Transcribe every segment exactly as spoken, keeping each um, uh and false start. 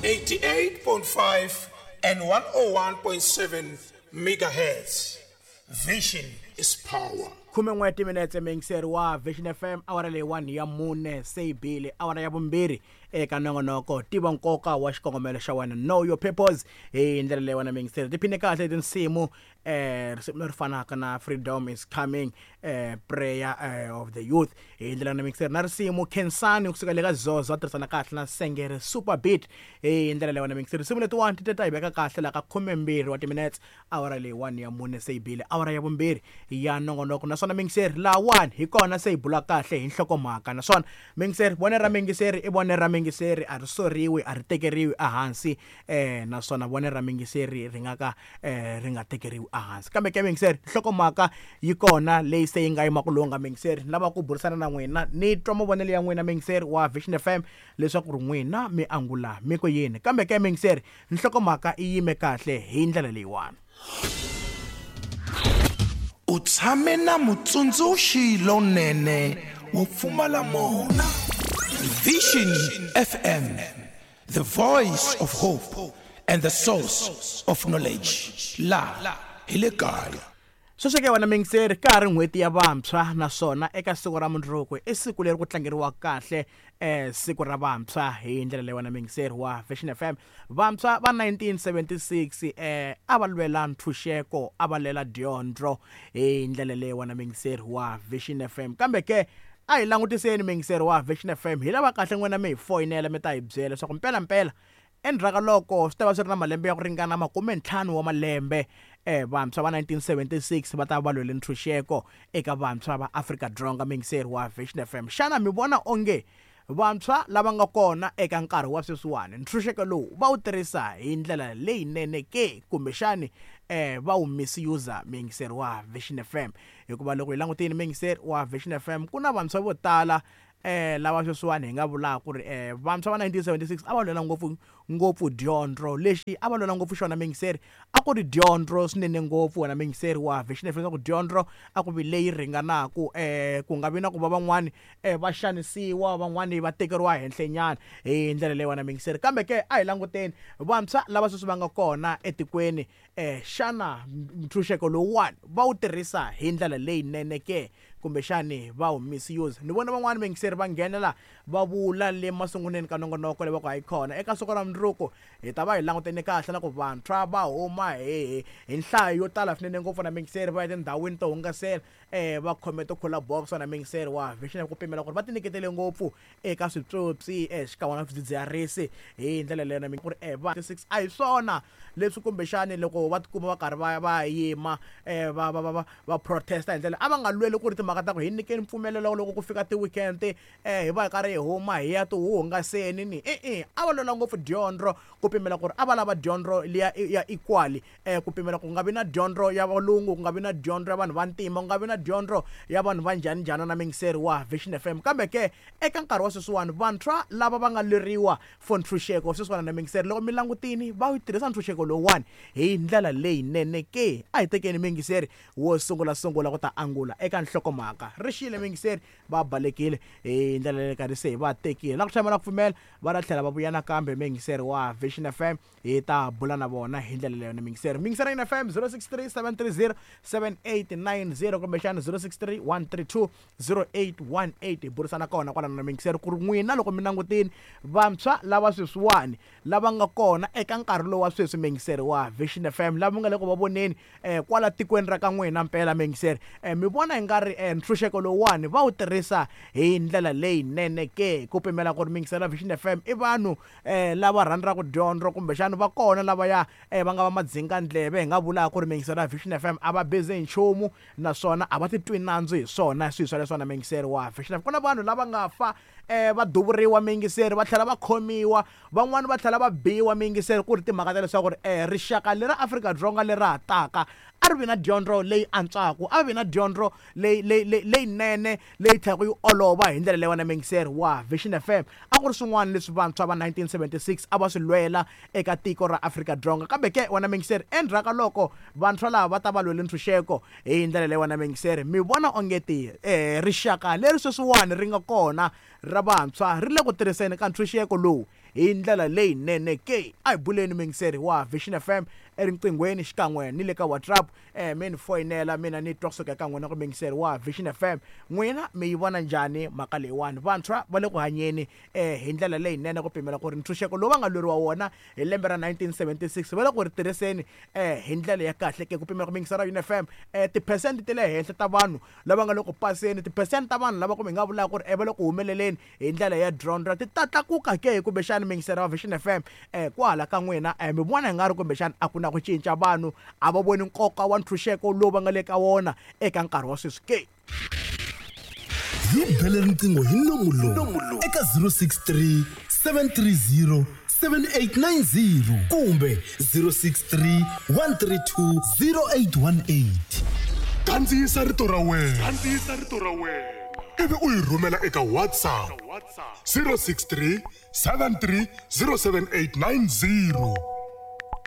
eighty-eight point five and one oh one point seven megahertz. Vision is power. Khume n'we timinetse muyingiseri wa Vision F M, awara leyi one ya mune se yi bile, awara ya vumbirhi eka nongonoko tiva nkoka wa xikongomelo xa wena, know your purpose. Hi ndlela leyi wena muyingiseri tiphine kahle tinsimu, eh, risimu leri fanaka na Freedom is Coming, eh, Prayer, eh, of the Youth. Hi ndlela na muyingiseri na risimu Khensani kusuka le ka Zozo a tirhisana kahle na Sengere Super Beat. Hi ndlela leyi wena muyingiseri risimu letiwani ti ta hi veka kahle la ka khumembirhi wa timinetse, awara leyi one ya mune se yi bile, awara ya vumbirhi ya nongonoko. Naswona muyingiseri lawani hi kona se hi bula kahle hi nhlokomhaka. Naswona muyingiseri vone ra muyingiseri i vone ra muyingiseri, a ri soriwi, a ri tekeriwi ehansi, eh, naswona vone ra muyingiseri ri nga ka, eh, ri nga tekeriwi ehansi. Kambe ke muyingiseri nhlokomhaka yi kona leyi se yi nga yima ku lungha. Muyingiseri ni lava ku burisana na n'wina, ni twa mavonelo ya n'wina muyingiseri wa Vision F M leswaku ri n'wina mi angula mi ku yini. Kambe ke muyingiseri nhlokomhaka yi yime kahle hi ndlela leyiwani. U tshame na mutsundzuxi lonene wo pfumala mona. Vision F M, the voice of hope and the source of knowledge. La hi le kaya. Sweswi ke wena muyingiseri, ka ha ri n'hweti ya vantshwa, naswona eka siku ra mundzuku i siku leri ku tlangeriwa kahle, eh, siku ra vantshwa. Hi ndlela leyi wena muyingiseri wa Vision F M, vantshwa va nineteen seventy-six, eh, a va lwela ntshunxeko, a va lwela dyondzo. Hi ndlela leyi wena muyingiseri wa Vision F M. Kambe ke a hi langutiseni muyingiseri wa Vision F M, hi lava kahle n'wina mi hi foyinela mi ta hi byela leswaku mpelampela endzhaku ka loko swi ta va swi ri na malembe ya ku ringana makume ntlhanu wa malembe, eh, vantshwa va nineteen seventy-six va ta va lwele ntshunxeko eka vantshwa va Afrika-Dzonga. Muyingiseri wa Vision F M, xana mi vona onge vantshwa lava nga kona eka nkarhi wa sweswiwani ntshunxeko lowu va wu tirhisa hi ndlela leyinene ke, kumbexani, eh, va wu misuse? Muyingiseri wa Vision F M, hikuva loko hi langutile muyingiseri wa Vision F M, ku na vantshwa vo tala, eh, lava sweswiwani hi nga vulaka ku ri, eh, vantshwa va nineteen seventy-six a va lwela ngopfu ngopfu dyondzo. Lexi a va lwela ngopfu xona muyingiseri a ku ri dyondzo swinene ngopfu. Wena muyingiseri wa Vision F M, leswaku dyondzo a ku vi leyi ringanaku, eh, ku nga vi na ku va van'wani, eh, va xanisiwa, van'wani va tekeriwa henhlenyana hi ndlela leyi wena muyingiseri. Kambe ke a hi languteni vantshwa lava sweswi va nga kona etikweni, eh, xana ntshunxeko lowuwani va wu tirhisa hi ndlela leyinene ke, kumbexani va wu misuse? Ni vona van'wani vayingiseri va nghenela va vula le masunguleni ka nongonoko leyi va ku hayi kona eka siku ra mundzuku hi ta va hi langutene kahle na ku vantshwa va huma hi, hi nhlayo yo tala swinene ngopfu na muyingiseri, va ya etindhawini to hungasela, eh, va khome ti-cooler box na muyingiseri wa Vision ku pimela ku ri va tinyiketele ngopfu eka switsotsi, eh, xikan'we na swidzidziharisi hi ndlela leyo na ku ri, eh, va six a hi swona leswi kumbexani loko va tikuma va karhi va, va yima, eh, va, va, va, va, va protesta hi ndlela a va nga lweli ku ri timhaka ta ku hi nyikeni mpfumelelo loko ku fika ti-weekend, eh, hi va hi karhi hi huma hi ya tihungaseni ni e-e, a va lwela ngopfu dyondzo ku pimela ku ri a va lava dyondzo liya ya equal, eh, ku pimela ku nga vi na dyondzo ya valungu, ku nga vi na dyondzo ya vanhu va ntima, ku nga vi na dyondzo ya vanhu va njhani njhani na muyingiseri wa Vision F M. Kambe ke eka nkarhi wa sweswiwani vantshwa lava va nga lweriwa for ntshunxeko sweswiwani na muyingiseri, loko mi langutini va wu tirhisa ntshunxeko lowuwani hi ndlela leyinene ke. A hi tekeni muyingiseri wo sungula sungula ku ta angula eka nhlokomhaka. Ri xile muyingiseri, va balekile hi ndlela leyi karhi se hi va tekile. Na ku tshama na ku pfumela va ta tlhela va vuya nakambe muyingiseri wa Vision F M, hi ta bula na vona hi ndlela leyo na muyingiseri. Muyingiseri ya F M zero six three seven three zero seven eight nine zero kumbexana zero six three one three two zero eight one eight, hi burisana kona kwalano na muyingiseri ku ri n'wina loko mi langutini vantshwa lava sweswiwani lava nga kona eka nkarhi lowu wa sweswi muyingiseri wa Vision F M, lava nga le ku va voneni, eh, kwala tikweni ra ka n'wina mpela muyingiseri, eh, mi vona hi nga ri, eh, ntshunxeko lowuwani va wu tirhisa hi ndlela leyinene ke, ku pimela ku ri muyingiseri wa Vision F M i vanhu, eh, lava rhandzaka dyondzo kumbexana va kona lava ya, eh, va nga va madzingandleve, hi nga vulaka ku ri muyingiseri wa Vision F M a va busy hi nchumu naswona a va titwi nandzu hi swona swilo swa leswi na muyingiseri wa Vision F M. Ku na vanhu lava nga fa, eh, va duvuriwa muyingiseri, va tlhela va khomiwa, van'wani va tlhela va biwa muyingiseri ku ri timhaka ta leswaku ri, eh, rixaka leri Afrika-Dzonga leri ha taka a ri vi na dyondzo leyi antswaka, a vi na dyondzo leyi, leyi, leyi, leyinene leyi tlhelaka yi olova hi ndlela leyi wena muyingiseri wa Vision F M. A ku ri swin'wana leswi vantshwa va nineteen seventy-six a va swi lwela eka tiko ra Afrika-Dzonga. Kambe ke wena muyingiseri, endzhaku ka loko vantshwa lava va ta va lwele ntshunxeko hi ndlela leyi wena muyingiseri, mi vona onge ti, eh, rixaka leri sweswiwani ri nga kona ra vantshwa ri le ku tirhiseni ka ntshunxeko lowu hi ndlela leyinene ke? A hi buleni mingiseri wa Vision F M erinqinghweni xikan'we ni le ka WhatsApp. eh mi ni foyinela mina ni twa kusuka eka n'wina ku mingiseri wa Vision F M, n'wina mi yi vona njhani mhaka leyiwani? Vantshwa va le ku hanyeni eh hi ndlela leyinene ku pimela ku ri ntshunxeko lowu va nga lweriwa wona hi lembe ra nineteen seventy-six va le ku ri tirhiseni eh hi ndlela ya kahle ke? Ku pimela ku mingiseri wa U N F M eh ti-percent ta le henhla ta vanhu lava nga le ku paseni, ti-percent ta vanhu lava ku mi nga vulaka ku ri eh va le ku humeleleni hi ndlela ya dyondzo ti ta tlakuka ke? Kumbexani mingiseri wa Vision F M eh kwala ka n'wina eh mi vona hi nga ri kumbexani a ku na ku cinca, vanhu a va voni nkoka wa ntshunxeko lowu va nga le ka wona eka nkarhi wa sweswi ke? Hi bele riqingho hi nomu lowu eka zero six three seven three zero seven eight nine zero kumbe zero six three one three two zero eight one eight. Kandziyisa rito ra wena, kandziyisa rito ra wena ivi u yi rhumela eka WhatsApp zero six three seven three zero seven eight nine zero.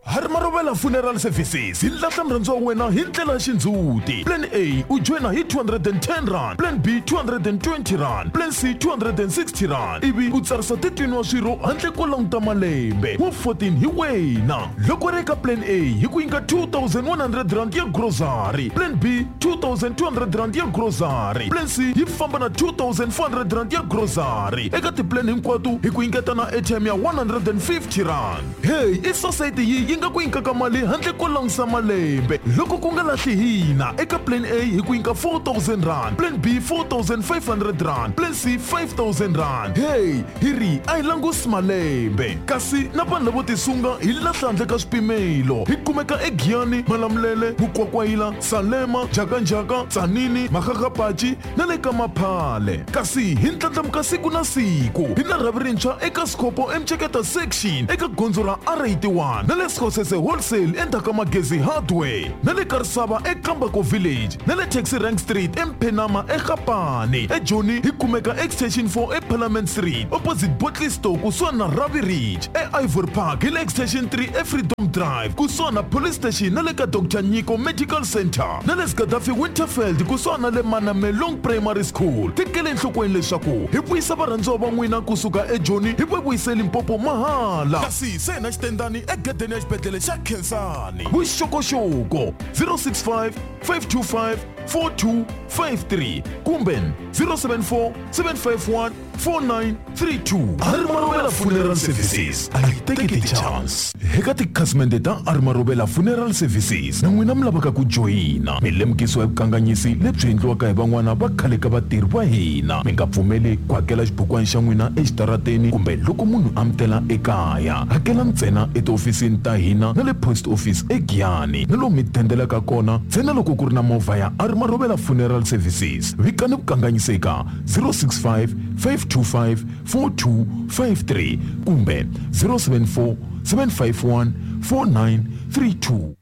Hari Marobela Funeral Services hi lahla murhandzi wa wena hi ndlela ya xindzhuti. Plan A u joyina hi two hundred and ten rand, Plan B two hundred and twenty rand, Plan C two hundred and sixty rand, ivi u tsarisa thirteen wa swirho handle ko languta malembe wa fourteen hi wena. Loko ri eka Plan A hi ku nyika two thousand one hundred rand ya grocery, Plan B two thousand two hundred rand ya grocery, Plan C yi famba na two thousand four hundred rand ya grocery. Eka tiplan hinkwato hi ku nyiketa na airtime ya one hundred and fifty rand. Hey, i society yi yi nga ku nyikaka mali handle ko langusa malembe. Loko ku nga lahli hina eka Plan A hi ku nyika four thousand rand, Plan B four thousand five hundred rand, Plan C five thousand rand. Hey, hi ri a hi langusi malembe. Kasi na vanhu lavo tisunga hi lahla handle ka swipimelo. Hi kumeka eGiyani, Malamulele, Mukwakwayila, Salema, Jakanjaka, Tsanini, Makgakgapachi na le ka Maphale. Kasi hi ndlandlamuka siku na siku. Hi na rhavi rintshwa eka Scopo eMcheketa section eka gondzo ra R eighty-one na le Skhosese Wholesale endzhaku ka Magezi Hardware na le Karisava eKambako Village na le Taxi Rank Street eMphenama eGapane. eJoni hi kumeka Extension four eParliament Street opposite Botley Store kusuhani na Ravi Ridge. E-Ivory Park hi le Extension three eFreedom Drive kusuhani na Police Station na le ka Doctor Nyiko Medical Center na le Gaddafi Winterfeld kusuhani na le Manamelong Primary School. Tekele enhlokweni leswaku hi vuyisa varhandziwa va n'wina kusuka eJoni hi va vuyise Limpopo mahala. Kasi se na xitendani egedeni ya xibedhlele xa Khensani. Vuxokoxoko zero six five five two five four two five three kumbe zero seven four seven five one four nine three two. Hari Marobela Funeral Services a yi teki ti-chance. Eka tikhasimende ta Hari Marobela Funeral Services na n'wina mi lavaka ku joyina, mi lemukisiwa hi vukanganyisi lebyi endliwaka hi van'wana va khale ka vatirhi va hina. Mi nga pfumeli ku hakela xibukwana xa n'wina exitarateni kumbe loko munhu a mi tela ekaya. Hakela ntsena etihofisini ta hina na le post office eGiyani na lomu mi dendelaka kona ntsena loko ku ri na movha ya Hari Marobela Funeral Services. Vikani vukanganyisi eka zero six five five two five four two five three kumbe zero seven four seven five one four nine three two.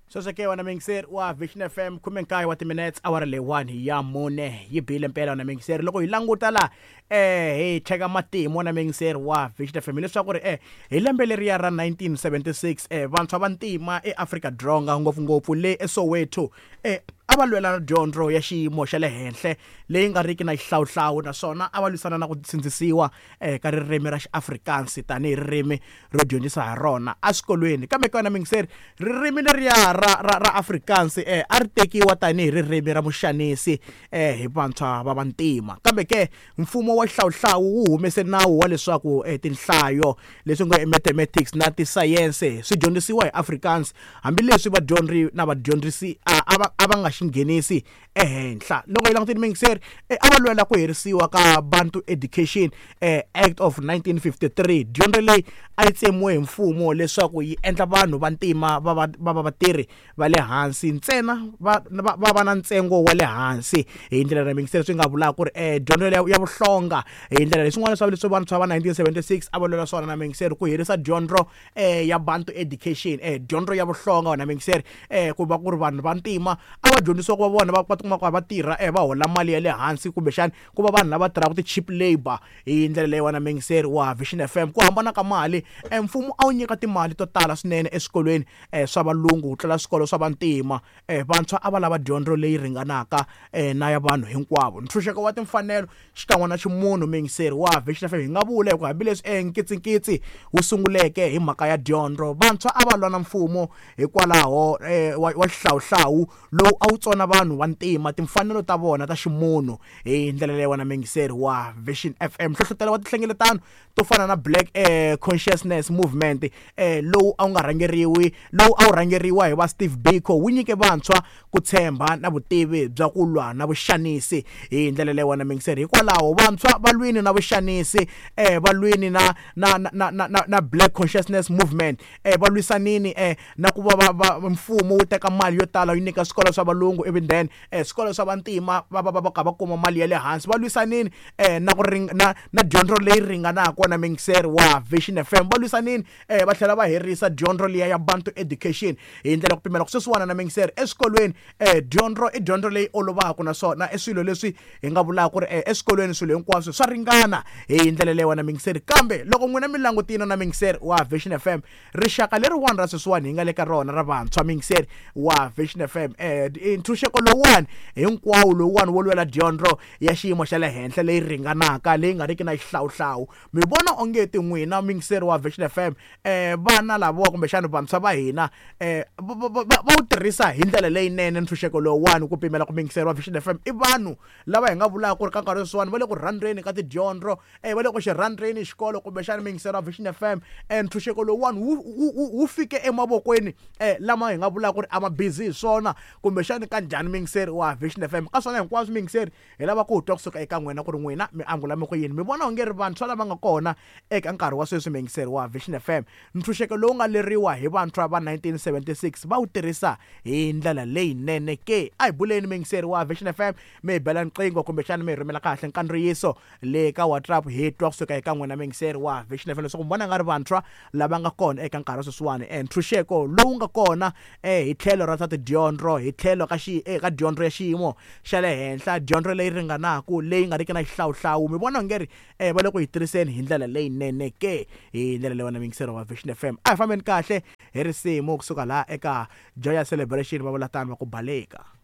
Sweswo ke wena mingiseri wa Vision F M khume nkaye wa timinutes awara leyiwani ya mune yi bile mpela wena mingiseri. Loko hi languta la eh hi cheka matimu wena mingiseri wa Vision F M leswaku ri eh hi lembe leriya ra nineteen seventy-six eh vantshwa va ntima eAfrika Dzonga ngopfungopfu le eSoweto eh a va lwela na dyondzo ya xiyimo xa le henhla leyi nga riki na xihlawuhlawu, naswona a va lwisana na ku sindzisiwa eh ka ririmi ra xiAfrikaans tanihi ririmi ro dyondzisa ha rona eswikolweni. Kambe ka wena mingiseri, ririmi leriya ra ra ra Afrikaans eh a ri tekiwa tanihi ririmi ra muxanisi eh hi vantshwa va vantima. Kambe ke mfumo wa xihlawuhlawu wu humese nawu wa leswaku eh, tinhlayo leswi nga mathematics na tisayense swi dyondzisiwa hi Afrikaans, hambileswi vadyondzi na vadyondzisi a va a va nga xinghenisi ehenhla. Loko hi langutile mingiseri, a va lwela ku herisiwa ka Bantu Education eh, Act of nineteen fifty-three. Dyondzo leyi a yi tsemiwe hi mfumo leswaku yi endla vanhu va ntima va va va vatirhi va le hansi ntsena va va va na ntsengo wa le hansi. Hi ndlela ya mingiseri swi nga vulaka ku ri eh, dyondzo ya vuhlonga hi ndlela leyi swin'wana swa leswi vantshwa va nineteen seventy-six a va lwela swona na mingiseri, ku herisa dyondzo eh, ya Bantu Education eh, dyondzo ya vuhlonga na mingiseri eh, ku va ku ri vanhu va ntima a va dyondzisiwa ku va vona va va tikuma va tirha eh va hola mali ya le hansi kumbexani ku va vanhu lava tirhaka ti-cheap labor hi ndlela leyi wena muyingiseri wa Vision F M. Ku hambana ka mali, mfumo a wu nyika timali to tala swinene eswikolweni swa valungu ku tlula swikolo swa vantima. Vantshwa a va lava dyondzo leyi ringanaka na ya vanhu hinkwavo. Ntshunxeko wa timfanelo xikan'we na ximunhu muyingiseri wa Vision F M, hi nga vula hi ku hambileswi nkitsinkitsi wu sunguleke hi mhaka ya dyondzo, vantshwa a va lwa na mfumo hikwalaho wa xihlawuhlawu lowu a wu tsona vanhu va ntima timfanelo ta vona ta ximunhu hi ndlela leyi wena muyingiseri wa Vision F M. Nhlohlotelo wa tinhlengeletano to fana na Black eh, Consciousness Movement eh, lowu a wu nga rhangeriwi lowu a wu rhangeriwa hi va Steve Biko wu nyike vantshwa ku tshemba na vutivi bya ku lwa na vuxanisi hi ndlela leyi wena muyingiseri. Hikwalaho vantshwa va lwini na vuxanisi, eh, va lwini na na na na na, na Black Consciousness Movement, eh, va lwisanini eh, na ku va va mfumo wu teka mali yo tala yi nyika swikolo swa valungu even then eh, swikolo swa vantima va va va va kuma mali ya le hansi. Va lwisanini eh, na ku ring na na dyondzo leyi ringanaka na muyingiseri wa Vision F M. Va lwisanini eh, va tlhela va herisa dyondzo liya ya Bantu Education hi ndlela ku pimela ku sweswiwana na muyingiseri eswikolweni eh, dyondzo i dyondzo leyi olovaka naswona i swilo leswi hi nga vulaka ku ri eh, eswikolweni swilo hinkwaswo swa ringana hi ndlela leyi wena muyingiseri. Kambe loko n'wina mi langutile na muyingiseri wa Vision F M, rixaka leriwani ra sweswiwani hi nga le ka rona ra vantshwa muyingiseri wa Vision F M, eh, ntshunxeko lowuwani hinkwawo lowuwani wo lwela dyondzo ya xiyimo xa le henhla leyi ringanaka leyi nga riki na xihlawuhlawu, mi vona onge ti n'wina muyingiseri wa Vision F M eh, vana lavawa kumbexana vantshwa va hina eh, va wu tirhisa hi ndlela leyinene ntshunxeko lowuwani ku pimela ku muyingiseri wa Vision F M i vanhu lava hi nga vulaka ku ri ka nkarhi sweswiwani va le ku rhandzeni ka tidyondzo, eh, va le ku xi rhandzeni xikolo kumbexana muyingiseri wa Vision F M eh, ntshunxeko lowuwani wu wu fike emavokweni eh, lama hi nga vulaka ku ri a ma busy hi swona kumbexana ka njhani muyingiseri wa Vision F M. Ka swona hinkwaswo muyingiseri hi lava ku twa kusuka eka n'wina ku ri n'wina mi angula mi ku yini, mi vona onge ri vantshwa lava nga kona eka nkarhi wa sweswi muyingiseri wa Vision F M ntshunxeko lowu nga leriwa hi vantshwa va nineteen seventy-six va wu tirhisa hi ndlela leyinene ke? A hi buleni muyingiseri wa Vision F M, mi hi bela nqingho kumbexana mi hi rhumela kahle nkandziyiso le ka WhatsApp hi twa kusuka eka n'wina muyingiseri wa Vision F M leswaku mi vona nga ri vantshwa lava nga kona eka nkarhi wa sweswiwani ntshunxeko lowu nga kona eh, hi tlhelo ra swa tidyondzo, hi tlhelo ka xi eka dyondzo ya xiyimo xa le henhla, dyondzo leyi ringanaka leyi nga riki na xihlawuhlawu, mi vona onge ri eh, va le ku yi tirhiseni hi ndlela leyinene ke? Hi ndlela leyi wena muyingiseri wa Vision F M. A hi fambeni kahle hi risimu kusuka laha eka Joyous Celebration va vula tano va ku baleka.